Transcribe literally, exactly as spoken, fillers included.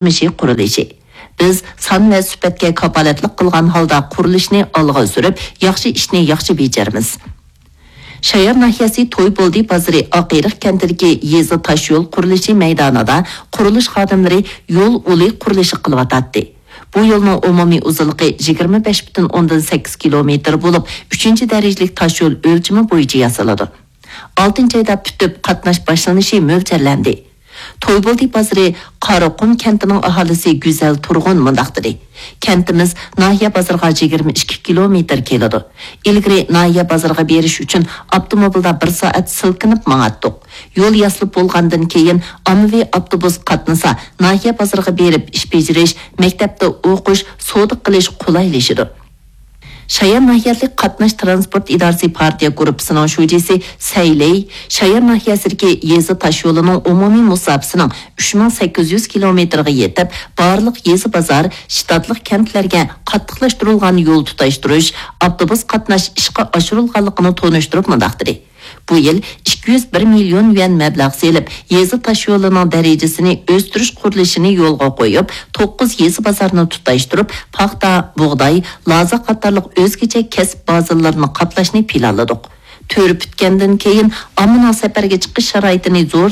قۇرۇلۇشى. بىز سان ۋە سۈپەتكە كاپالەتلىك قىلغان ھالدا قۇرۇلۇشنى ئالغا سۈرۈپ، ياخشى ئىشنى ياخشى بېجىرىمىز. شايار ناھىيەسى تويبولدى بازىرى ئاقئېرىق كەنتىدىكى يېزا تاشيول قۇرۇلۇشى مەيدانىدا قۇرۇلۇش خادىملىرى يول ئۇلى قۇرۇلۇشى قىلىۋاتاتتى. بۇ يولنىڭ ئومۇمىي ئۇزۇنلۇقى يىگىرمە بەش پۈتۈن ئوندىن سەككىز كىلومېتىر بولۇپ، ئۈچىنچى دەرىجىلىك تاشيول ئۆلچىمى بويىچە ياسىلىدۇ. ئالتىنچى ئايدا پۈتۈپ، قاتناش باشلىنىشى مۆلچەرلەندى. تويبولدى بازىرى قاراقۇم كەنتىنىڭ ئاھالىسى گۈزەل تۇرغۇن مۇنداق دېدى: كەنتىمىز ناھىيە بازىرىغا يىگىرمە ئىككى كىلومېتىر كېلىدۇ. ئىلگىرى ناھىيە بازىرىغا بېرىش ئۈچۈن ئاپتوموبىلدا بىر سائەت سىلكىنىپ ماڭاتتۇق. يول ياسىلىپ بولغاندىن كېيىن ئاممىۋى ئاپتوبۇس قاتنىسا، ناھىيە بازىرىغا بېرىپ ئىش بېجىرىش، مەكتەپتە ئوقۇش، سودا قىلىش قولايلىشىدۇ. شايار ناھىيەلىك قاتناش تىرانسپورت ئىدارىسى پارتىيە گۇرۇپپىسىنىڭ شۇجىسى سەيلەي شايار ناھىيەسىدىكى يېزا تاشيولىنىڭ ئومۇمىي مۇساپىسىنىڭ ئۈچ مىڭ سەككىز يۈز كىلومېتىرغا يېتىپ، بارلىق يېزا بازار، شتاتلىق كەنتلەرگە قاتتىقلاشتۇرۇلغان يول تۇتاشتۇرۇش، ئاپتوبۇس قاتناش ئىشقا ئاشۇرۇلغانلىقىنى تونۇشتۇرۇپ مۇنداق دېدى: بۇ يىل ئىككى يۈز بىر مىليون يۈەن مەبلەغ سېلىپ، يېزا تاشيولىنىڭ دەرىجىسىنى ئۆستۈرۈش قۇرۇلۇشىنى يولغا قويۇپ، توققۇز يېزا بازارنى تۇتاشتۇرۇپ، پاختا، بۇغداي، لازا قاتارلىق ئۆزگىچە كەسىپ بازىلىرىنى قاپلاشنى پىلانلىدۇق. تۈرى پۈتكەندىن كېيىن، ئاممىنىڭ سەپەرگە چىقىش شارائىتىنى زور